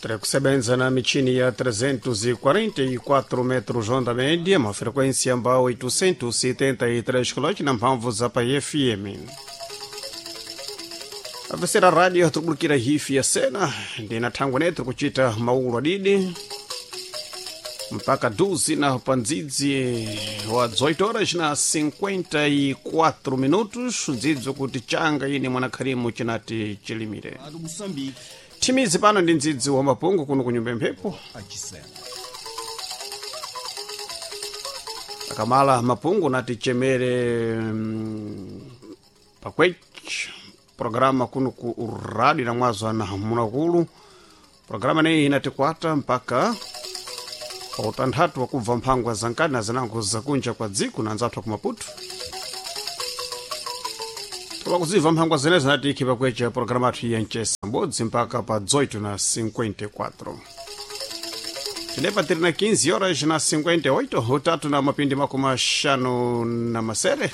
Tiri kusebenza na michini ya 344 metros onda média, uma frequência ambao 873 kHz na mphamvu za pa FM. Avesera radio tikubulikira hifi ya sena ndina thangwe netu kuchita maulo adidi mpaka duzi na pandzidzi wa 18 horas na 54 minutos, ndzidzo kuti changa ine mwanakharimu chinati chilimire. Rádio Moçambique, Thimizi pano ndi ndzidzi wa mapungu kuno kunyumba mphepo. Achisena. Akamala mapungu nati chemere pakwech programa kuno ku radi na mwazo ana munakulu. Programa neyi inatikwata mpaka pa utanthatu wakubva mphangwa zankani na zinango zakunja kwa dziko na anzathu aku Maputo. Koma kuzibva mphangwa zenezo nati ikhi pakwecha programa athu ya mchesa mbodzi mpaka pa 18 na 54. Tinepa tiri na 15 horas na 58, utatu na mapindi makumi axanu na masere.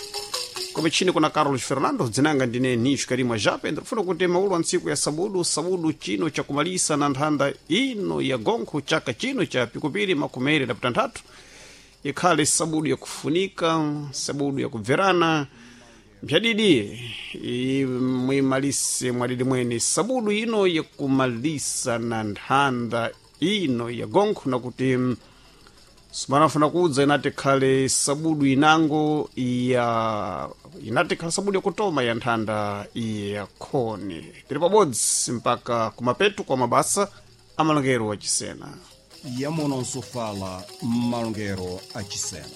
Kumichini kuna Carlos Fernando, dzinanga ndine Nisho Karimwa Jape. Ndikufuna kuti maulo a ntsiku ya sabudu, sabudu chino chakumalisa na nthanda ino ya gonkho chaka chino cha pikupiri makumi na pitanthatu ikhale sabudu yakufunika, sabudu yakubverana mpyadidi mwimalise mwadidi mwene sabudu ino yakumalisa na nthanda ino ya gonkho, nakuti simanafuna kudza inati khale sabudu inango ya inati khale sabudu yakutoma ya nthanda ya khoni. Tili pabodzi mpaka kumapetu kwa mabasa amalongero wa chisena. Yamononso fala malongero achisena.